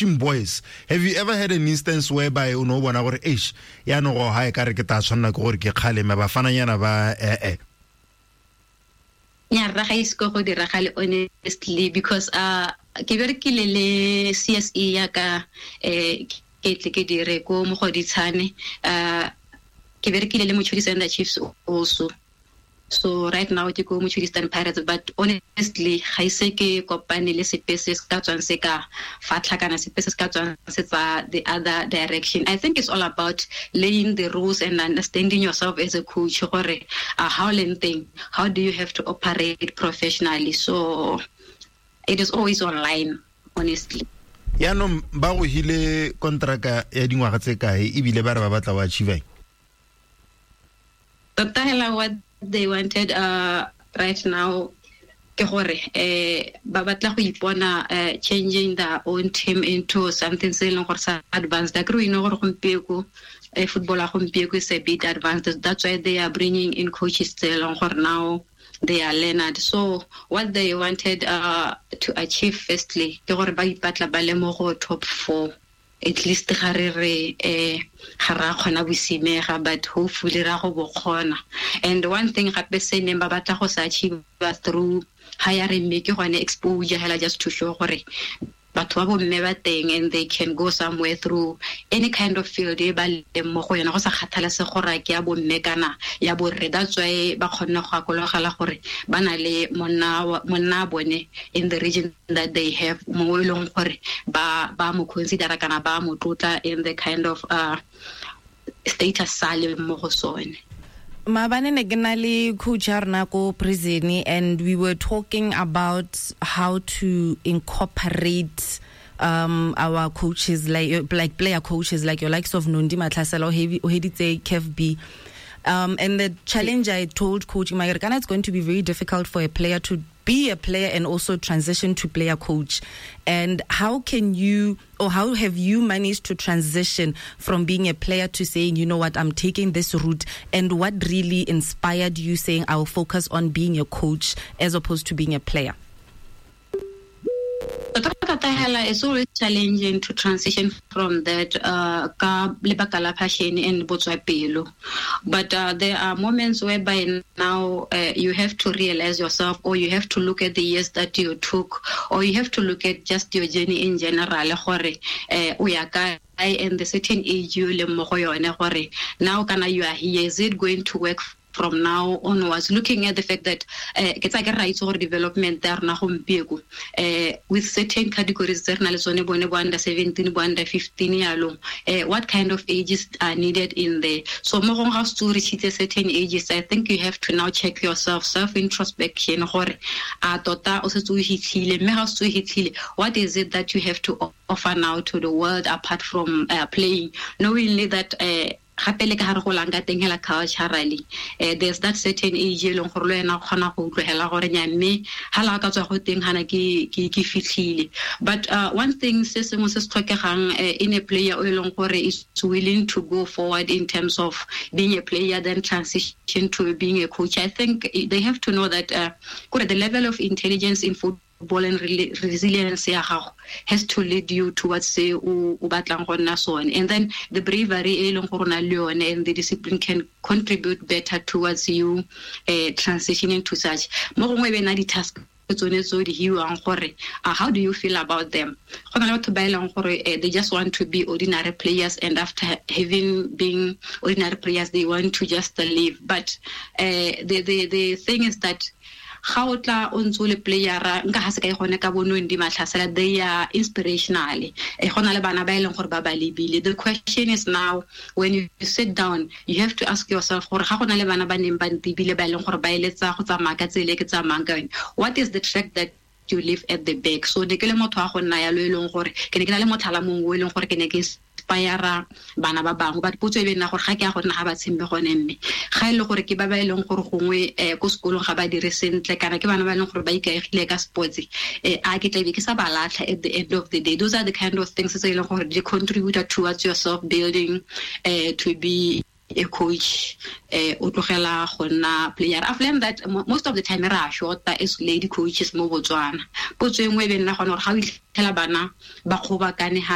Boys, have you ever had an instance whereby o ne o bona gore eish, yaanong go ga e ka re ke tla tshwanela ke gore ke kgaleme bafananyana ba ee? Nyarra, ga ise go diragale, honestly, because ke berekile le CSE ya ka, ke tle ke dire ko Mogoditshane, ke berekile le Mochudi Center Chiefs also. So right now ke ko Mochudi Stone Pirates, but honestly ga ise ke kopane le sepe se se ka tswang se ka fatlha kana sepe se se ka tswang se tsa the other direction. I think it's all about laying the rules and understanding yourself as a coach gore how leng teng, how do you have to operate professionally. So it is always online, honestly. Yaanong ba go hile kontraka ya dingwaga tse kae, ebile ba re ba batla o achieve? Tota hela, what they wanted right now ke gore ba batla go ipona changing their own team into something se e leng gore sa advanced. Akere o ine gore gompieko football ya gompieko is a bit advanced. That's why they are bringing in coaches tse e leng gore now they are learned. So what they wanted to achieve firstly ke gore ba ipatla ba le mo go top 4 at least. Ga re re ga ra kgona bosimega, but hopefully ra go bo kgona. And one thing gape se neng ba batla go sa achieve through hiring me ke gone exposure hela, just to show gore batho ba bomme ba teng and they can go somewhere through any kind of field e ba leng mo go yona, go sa kgathalese gore ke ya bomme kana ya borre. That's why ba kgonne go akologela gore ba na le monna bone in the region that they have, mo e leng gore ba mo considera kana ba mo tlotla in the kind of status sa leng mo go sone. Maabane ne ke na le coach ya rona ko prison, and we were talking about how to incorporate our coaches, like player coaches, like your likes of Nondi Matlhasela o heditse CAF B. And the challenge I told Coach Mayerekana, it's going to be very difficult for a player to be a player and also transition to player coach. And how can you, or how have you managed to transition from being a player to saying, "You know what, I'm taking this route"? And what really inspired you saying, "I'll focus on being a coach as opposed to being a player"? Tota hela, it's always challenging to transition from that ka lebaka la passion and botswapelo, but there are moments whereby now you have to realize yourself, or you have to look at the years that you took, or you have to look at just your journey in general gore o ya kae and the certain age you leng mo go yone, gore now kana you are here, is it going to work from now onwards, looking at the fact that ke tsa ke ra itse gore development ya rona gompieko with certain categories tse re na le tsone, bone bo under 17, bo under 15 yalong, what kind of ages are needed in there. So mo gongwe ga o setse o reachitse certain ages, I think you have to now check yourself, self introspection, gore a tota o setse o hitlhile, mme ga o setse o hitlhile, what is it that you have to offer now to the world apart from playing, knowingly that gape le ka gare go lang ka teng hela culturally, there's that certain age e leng gore le wena o kgona go utlwegela gore nya, mme ha la ka tswa go teng hana ke fitlhile. But one thing se sengwe se se tlhokegang in a player o e leng gore is willing to go forward in terms of being a player then transition to being a coach, I think they have to know that kore the level of intelligence in football and resilience ya gago has to lead you towards se o batlang go nna sone, and then the bravery e leng gore o na le yone and the discipline can contribute better towards you transitioning to such. Mo gongwe e be na di-task tsone tse o di hiwang gore how do you feel about them. Go na le batho ba e leng gore they just want to be ordinary players, and after having been ordinary players they want to just leave. But the thing is that ga o tla o ntse o le playera, nka ga se ka e gone ka bonong di Matlhasela, they are inspirational. Go na le bana ba e leng gore ba ba lebile. The question is now, when you sit down, you have to ask yourself gore ga go na le bana ba neng ba ntebile, ba e leng gore ba eletsa go tsamaya ka tsela e ke tsamayang ka yone, what is the track that you leave at the back? So ne ke le motho wa go nna yalo, e leng gore ke ne ke na le motlhala mongwe o e leng gore ke ne ke inspire bana ba bangwe. But potso e be nna gore ga ke ya go nna ga ba tshembe gone, mme ga e le gore ke ba ba e leng gore gongwe ko sekolong ga ba dire sentle, kana ke bana ba e leng gore ba ikaegile ka sports, a ke tlabe ke sa ba latlha at the end of the day? Those are the kind of things tse e leng gore di contribute towards yourself building to be a coach, o tlogela go nna player. I've learned that most of the time re a shorta as lady coaches mo Botswana. Potso e nngwe e be nna gone gore ga o itlhela bana ba kgobakane.